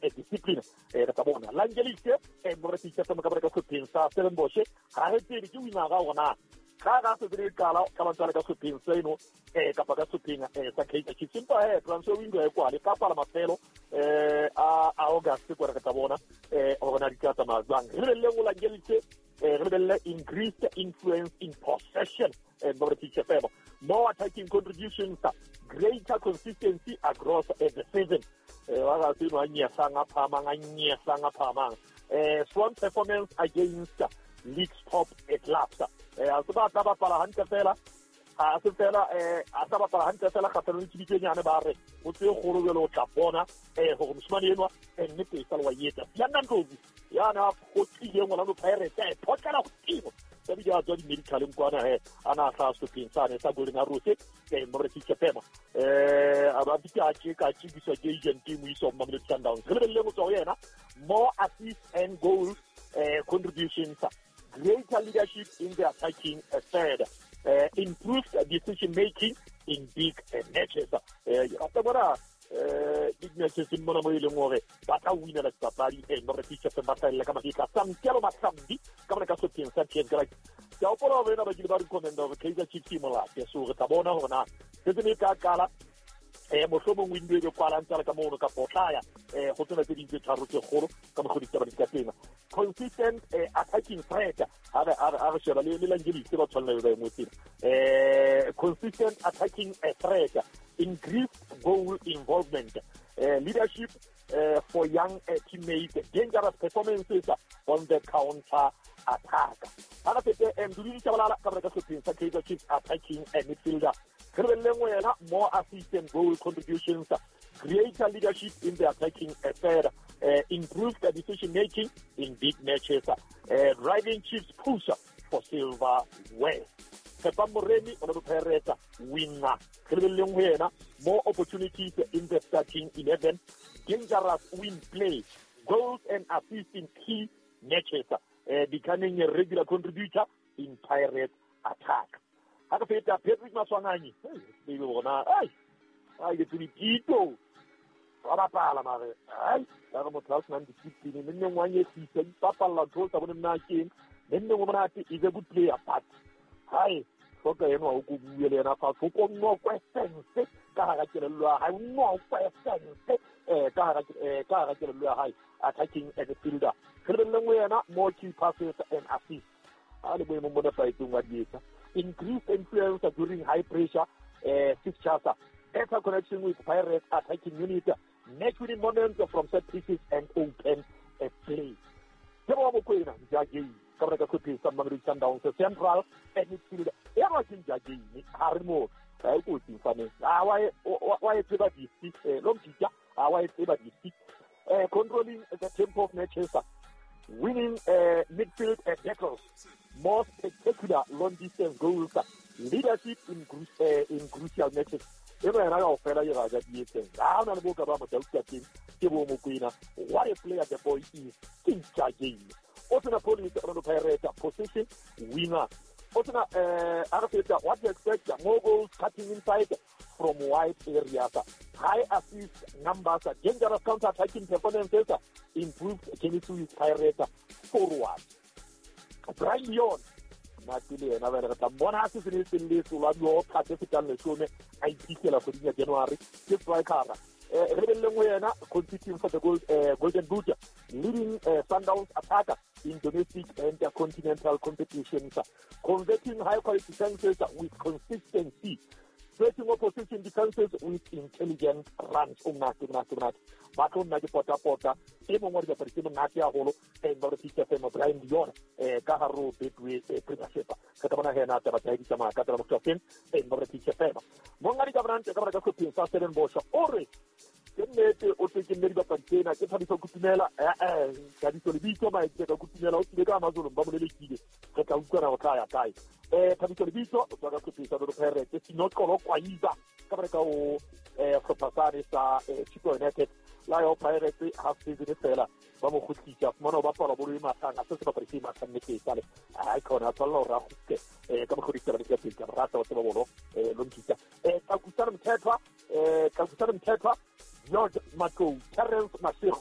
Discipline re tla bona Langelise morekisa tsa ka ka sepheng sa Stellenbosch ga re tsebe ke wina ga ona ga ga se dire qala ka ba tsala ka sepheng seno kapa ka sepheng sa Kaizer Chiefs empa he transfer window e kwale ka kwala mafelo a August ko re tla bona gore na di tla tsamaya jwang. Re lebelele go Langelise, re lebelele increased influence in possession Teacher Febo, more attacking contributions, greater consistency across the season. Wa ga se no a nyesang a phamang a nyesang a phamang. Strong performance against league's top clubs. A se ba tla bapala hantle fela, a se fela a sa bapala hantle fela kgatlhanong le tshebitsenyane ba re o tse kgolo jalo o tla bona gore moshimane enwa nnete e sa le wa etsa. Sianna Ndlovu yana go tlileng Orlando Pirates a e photlela godimo ka bile a tswa di-medicaleng kwana he a na a tlhaa setlhopheng sane sa Golden Arrows Morekisa Fema a ba bitse a tše ka tšebiswa ke agent e mo isa Mamelodi Sundowns. Re lebelele go tswa go yena more assists and goals contributions, greater leadership in the attacking third, improved decision making in big matches. Rata bona big matches mona mo e leng gore ba tla winela dipapadi Morekisa Fema ba hlaella ka mahetla. Samkelo Mahlambi ka mona ka sepheng sa TS Galaxy ke a hopola hore ena ba kile ba recommenda hore Kaizer Chiefs e molate, so re tla bona hore na season e tla qala mohlomong window e be kwalang tsala ka mono kapa o tla ya go tsena tse ding tse tharo tse kgolo ka mokgwa ditaba di ka teng. Consistent attacking threat ha re sheba le Langelise ba tshwanela ba e ngotseng consistent attacking threat, increased goal involvement, leadership for young teammates, dangerous performances on the counter attack. Ha re fete Mduduzi Tshabalala ka ka sepheng sa Kaizer Chiefs attacking midfielder. Re lebelele wena more assists and goal contributions, greater leadership in the attacking third, improved decision making in big matches, driving Chiefs push for silverware. Tshepang Moremi Orlando Pirates winger. Re lebeleleng ho yena more opportunities in the starting 11, dangerous win play, goals and assists in key matches, becoming a regular contributor in Pirates attack. Ha re feta Patrick Maswanganyi, hey bona ai ai ke tsebe Tito wa bapala mare ai la re motho a senang discipline mme nngwe wa nyefisa ipapalla ntho tsa bone nna keng mme nngwe monate is a good player but hai hloka enwa o ko bue le yena fatshe o ko nokwe sense ka hara kelello ya hae, o nokwe sense ka hara kelello ya hae attacking midfielder. Re lebelele nngwe yena more key passes and assists a le boemong bo nepahetseng wa di etsa. Increased influence during high pressure fixtures, better connection with Pirates attacking unit, match winning moments from set pieces and open play. Ke bo Mokoena Njagei ka bona ka sepheng sa Mamelodi Sundowns central midfielder. E ba ke Njagei ha re mo ha e kotsi mfaneng a wa e tseba disti lo mtitja a wa e tseba disti controlling the tempo of matches, winning midfield battles, more spectacular long distance goals, leadership in crucial matches. E ba yena kaofela e raja di etseng ha ona le boka ba motho ka teng ke bo Mokoena. What a player the boy is, ke Njagei. O tsena Police Orlando Pirates position winger. O tsena a re feta what to expect, more goals cutting inside from wide areas, high assist numbers, dangerous counter attacking performances, improved chemistry with Pirates forward. Brian Leon nate le yena ba re tla mmona se se ne se le tsolwa dio kgate fetang leshome a iphitlhela kgweding ya January ke striker. Re lebeleleng ho yena competing for the Golden Boot, leading Sundowns attacker in domestic and continental competitions, converting high quality chances with consistency, stretching opposition defenses with intelligent runs. O monate monate monate ba tlo nna ke pota pota e mongwe wa dibapadi tse monate haholo Morekisa Fema Brian Leon ka hare ho Betway Premiership. Re tla bona hena taba tsa di tsamaya ka tsela motho teng Morekisa Fema mongadi ka bonante ka bona ka sepheng sa Stellenbosch o re ke nnete o tle ke nne dibapadi tsena ke Thabiso Kutumela Thabiso Lebitso Maetse ka Kutumela o tlile ka Amazon ba mo lelekile re tla utlwana go tla ya kae Thabiso Lebitso o tswa ka sepheng sa Orlando Pirates Sinoxolo Kwayiba ka bona ka o sehlopha sane sa Chippa United la yo Pirates half season fela ba mo kgutlisa fumana o bapala bolo e mathang a se sebapadi se mathang nnete e sale ai khona a tshwanela hore a kgutle ka mokgwa ditaba di ka teng ka rata wa tseba bolo lo nkitsa Tlakusana Mthethwa Tlakusana Mthethwa George Matlou, Terence Mashego.